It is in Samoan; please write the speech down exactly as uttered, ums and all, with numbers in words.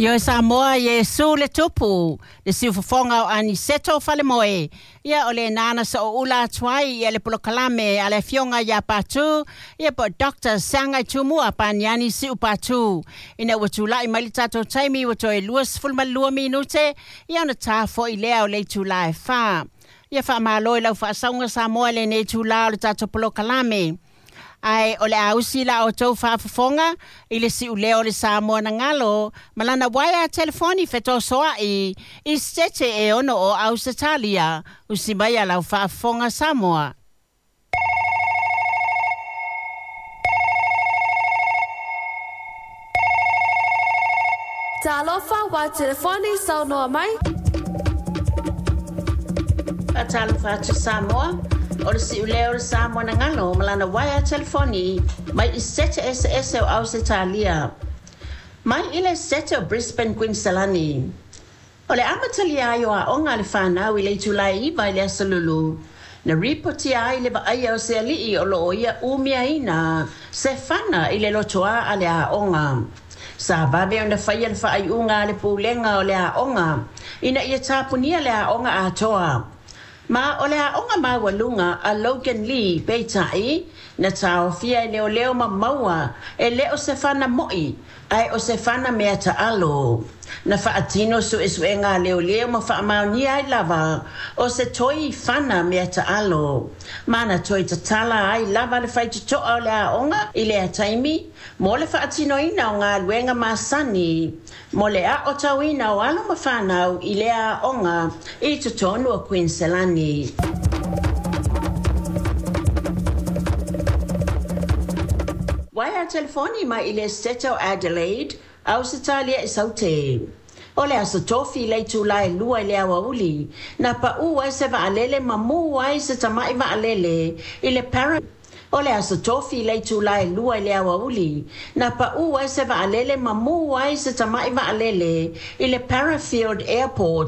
Ioe Samoa, Iesu le tupu, le siufofoga o Aniseto Falemoe. Ia o le nana sa o ula atu ai ia le polokalame a le afioga ia Patu, ia po Doctor Saga Tumua Paniani Siu Patu. Ina ua tula'i mai le tatou taimi ua toe luasefulumalua minute, ia ona tā fo'i lea o le itulā e fā. Ia faamālo i lau faasauga Samoa i lenei itulā o le tatou polokalame. Ae o le a usi la outou faafofoga i le siuleo o le Samoa na galo ma lana uaea telefoni fetosoa'i i Setete e ono o Ausetalia. Usi mai a lau faafofoga Samoa. Talofa wa telefoni saunoa mai. Faatalofa atu Samoa, o le siuleo o le Samoa na galo ma lana uaea telefoni mai i Sete eseese o Ausetalia. Mai i le Sete o Brisbane, Queensland. O le amatalia ai o aoga a le fanau i le itulā e iva i le aso Lulu, na ripotia ai le vaaia o se ali'i o loo ia umiaina se fana i le lotoā a le aoga. Sa vave ona faia le faaiuga a le pulega o le aoga ina ia tapunia le aoga atoa. Ma o le aoga maualuga a Logan Lee peitai na taofia e leoleo ma maua e le o se fana mo'i ae o se fana mea taalo. Na faatino suesuega a leoleo ma faamaonia ai lava o se toi fana mea taalo. Ma na toe tatala ai lava le faitotoa o le aoga i lea taimi mo le faatinoina o galuega masani mo le aotauina o alo ma fanau i lea aoga i totonu o Queensland. Waea telefoni mai i le Sete o Adelaide, Ausetalia i Saute. O le aso Tofi le itulā e lua i le aoauli, na paʻū ai se vaalele ma mū ai se tama'i vaalele i le Para. O le aso Tofi le itulā e lua i le aoauli, na paʻū ai se vaalele ma mū ai se tama'i vaalele i le Parafield Airport.